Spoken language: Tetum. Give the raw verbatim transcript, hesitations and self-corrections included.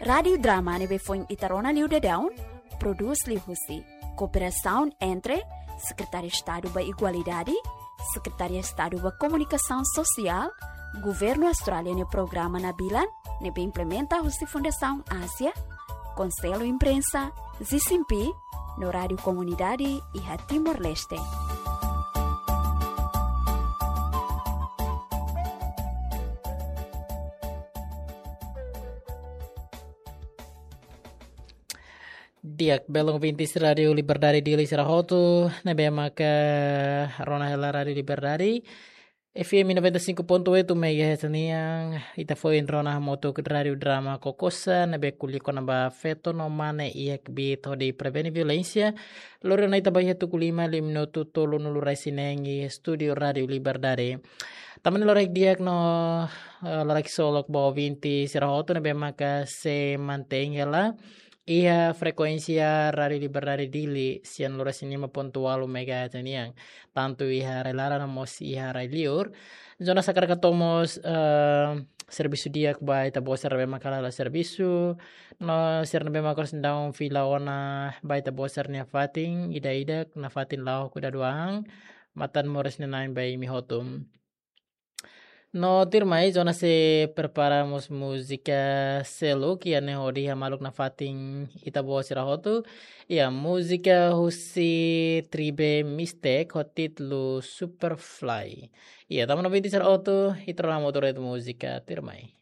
Rádiu Drama ne'ebé foin ita rona liu daudaun, prodús liuhusi kooperasaun entre Sekretaria Estadu ba Igualdade, Sekretaria Estadu ba Komunikasaun Sosiál, Governu Austrália nia programa Nabilan, ne'ebé implementa husi Fundasaun Ázia, Konsellu Imprensa, Zisimpi, no Rádiu Komunidade iha Timor-Leste. Di'ak, belun ouvintes Rádiu Liberdade Dili sira hotu, ne'ebé maka rona hela Rádiu Liberdade, F M noventa e cinco ponto oito megahertz nian, ita foin rona hamutuk Rádiu Drama Kokosa, ne'ebé ko'alia kona-ba feto no mane iha kbiit hodi prevene violénsia, lori ona ita ba iha tuku lima, liu minutu tolunulu resin neen iha estúdiu Rádiu Liberdade. Tanba ne'e loron di'ak no, eh, loron ksolok ba ouvintes sira hotu ne'ebé maka sei mantein hela iha frekuénsia Rádiu Liberdade Dili, sianulu resin lima ponto ualu megahertz nian, tantu iha rai-laran no mós iha rai-liur. Jonas hakarak hato'o mós, eh, servisu di'ak ba ita-boot sira ne'ebé maka halo servisu, no sira ne'ebé maka seidauk fila ona ba ita-boot sira-nia fatin, ida-idak nafatin la'o kuda duang, matan moris nanain ba imi hotu. No tuirmai, Jonas sei prepara mós múzika seluk, iha ne'e hodi hamaluk nafatin ita-boot sira hotu. Iha múzika husi tribe Mixtec ho títulu Superfly. Iha tanba ouvintes sira hotu, ita rona hamutuk ritmu múzika, tuirmai.